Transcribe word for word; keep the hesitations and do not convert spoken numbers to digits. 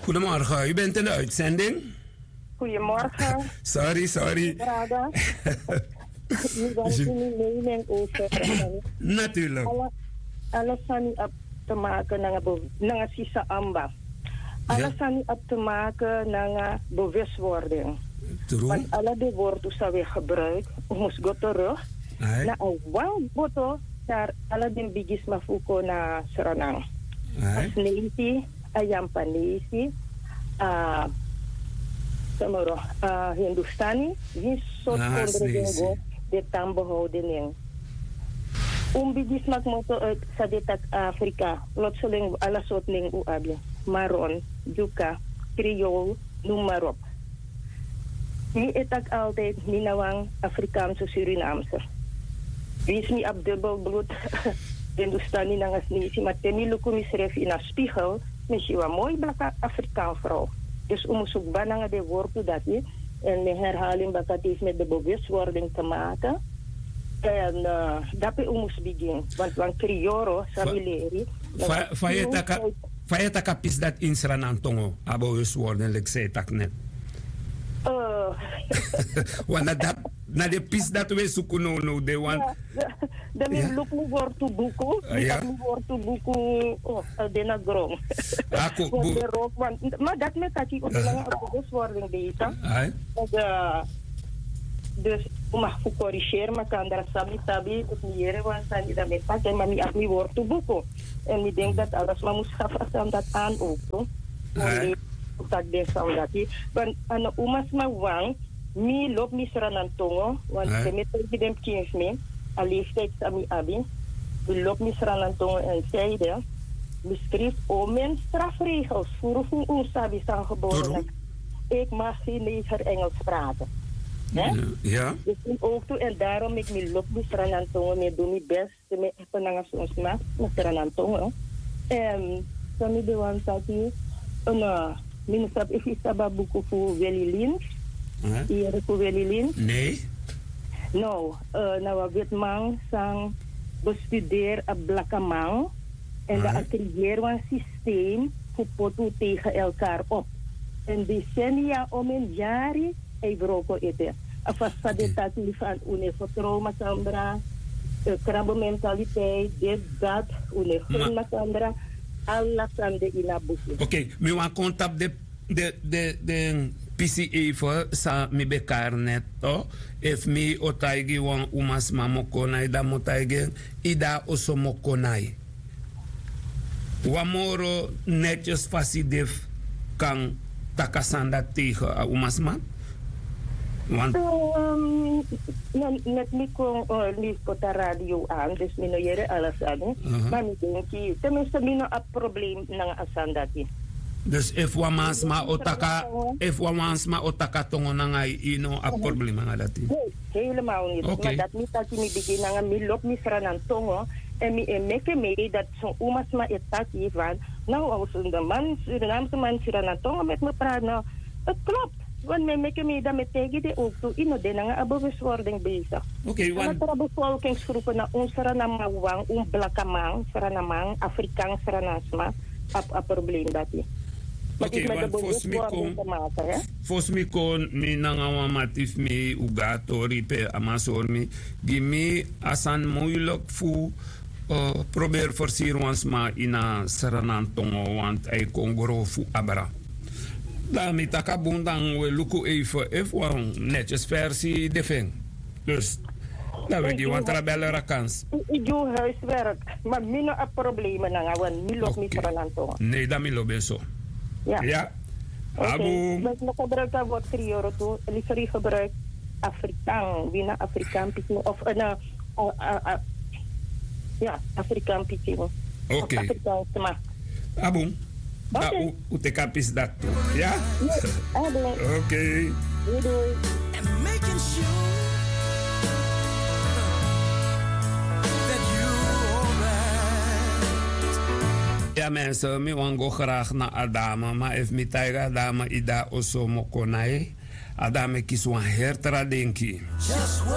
Goedemorgen, u bent in de uitzending. Goedemorgen. Sorry, sorry. Brada. U bent in uw mening over. Natuurlijk. Ala sani abi te maken nanga sisa amba. Ala sani abi te maken nanga bewustwording. Want ala de wortu san we gebruik, we mus go terug na a wan boto, daar ala den bigisma fu kon na Sranan. A Sneiti, a Yampanesi, a Samoro, a Hindustani, winsi sortu kondre den go, den tan behouden nen. Un bigisma kmoto uit san den taki Afrika, plotseling ala sortu nen un abi. Maron, Dyuka, Kriol, noem maar op. Mi e taki altijd, mi na wan Afrikaanse Surinaamse. Winsi mi abi dubbel bloed, Hindustani nanga Sneisi, ma te mi luku misrefi ini a spiegel, mi si wan moi blaka Afrikaan vrouw. Dus un mus kba nanga den wortu dati, en mi herhaling baka, het heeft met de bewustwording te maken. En eh, dape un mus bigin, want wan krioro san mi leri. Fa, fa yu e taki a pisi dati ini Sranan tongo, a bewustwording, leki san yu e taki net? Eh. Want na dati, na den pisi dati we suku now, now, den wan. Dan mi luku mi wortu buku, mi taki mi wortu buku, oh, a de na gron. Ako, bu- Ma dati mi e taki, un de nanga a bewustwording bezig. Ai. Dus un mag fu corrigeren makandra san mi sabi, dus mi yere wan sani dan mi e taki, ma mi abi mi wortu buku. En mi denk dat ala sma mus gafa a sani dati aan ook, toch? Ai. Un taki den sani dati. Want a no umasma wan, mi lobi mi Sranan tongo, want te mi e taigi den pikin fu mi, a leeftijd san mi abi, mi lobi mi Sranan tongo en tijden, mi skrifi omeni strafregels, furu fu un sabi san gebore. Ik mag geen neger Engels praten. Hè? Ja. Dus mi ook toe, en daarom meki mi lobi mi Sranan tongo, mi e du mi best, te mi e api nanga son sma na Sranan tongo. En san mi ben wani taki, no, mi no sabi efu yu sabi a buku fu Willy Lins. Yu yere fu Willy Lins? Nee. No, eh, na wan wetiman san bestuderi a blakaman. En dan a creëri wan systeem fu poti un tegen elkaar op. En decennia, om en yari, a e wroko ete. A fasi san den taki, van un no e vertrouw makandra, eh, krabementaliteit, dit, dat, un no e gun makandra, ala sani de ini a buku. Oké, mi wani kon tapu den, den, den, den pisi even san mi ben kari net, toch? Efu mi o taigi wan umasma mokonai, dan mi o taigi en, yu de na oso mokonai. Wan moro netjes fasi de fu kan taki a sani dati tegen a umasma? Want, ehm, net mi kon, eh, mi poti a radio aan, dus mi no yere ala sani. Ma mi denki, tenminste, mi no abi probleem nanga a sani dati. Dus efu wan mansma o taki, efu wan mansma o taki a tongo nanga yu, yu no abi probleem nanga dati? Nee, helemaal niet. Oké. Ma dati mi taki, mi bigin nanga mi lobi mi Sranan tongo. En mi e meki mi dati son umasma e taki van, nou, als een man, Surinaamse man, Sranan tongo met me praat, nou, het klopt. Want mi e meki mi dati, mi e taigi den ook toe, yu no de nanga a bewustwording bezig. Oké, want tra bevolkingsgroepen, na un Srananman wan, un blakaman, Srananman, Afrikaan Sranansma, abi a probleem dati. Oké, want fosi mi kon, fosi mi kon, mi nanga wan mati fu mi, un go na tori pe a man sori mi, gi mi a sani moeilijk fu, eh, proberi fersiri wan sma ini a Sranan tongo, want a e kon grofu abra. Dan mi taki a bun, dan we luku even efu wan netjes versi de fu en. Dus dan we gi wan tra beller a kans. Yu gi un huiswerk, ma mi no abi problema nanga, want mi lobi mi Sranan tongo. Nee, dan mi lobi en so. Ja. Oké. A bun. Mi no gebruik a word krioro tu, liever yu gebruik Afrikaan, wi na Afrikaan pikin of, eh, na, eh, eh, eh, ja, Afrikaan pikin. Oké. Afrikaan sma. A bun. Oké. Dan un teki a pisi dati tu. Ja? Yes, a bun. Oké. Doei, doei. And making sure that you alright. Ja, mensen, mi wani go graag na a dame, ma efu mi taigi a dame, yu de na oso mokonai, a dame kisi wan heri tra denki. Just what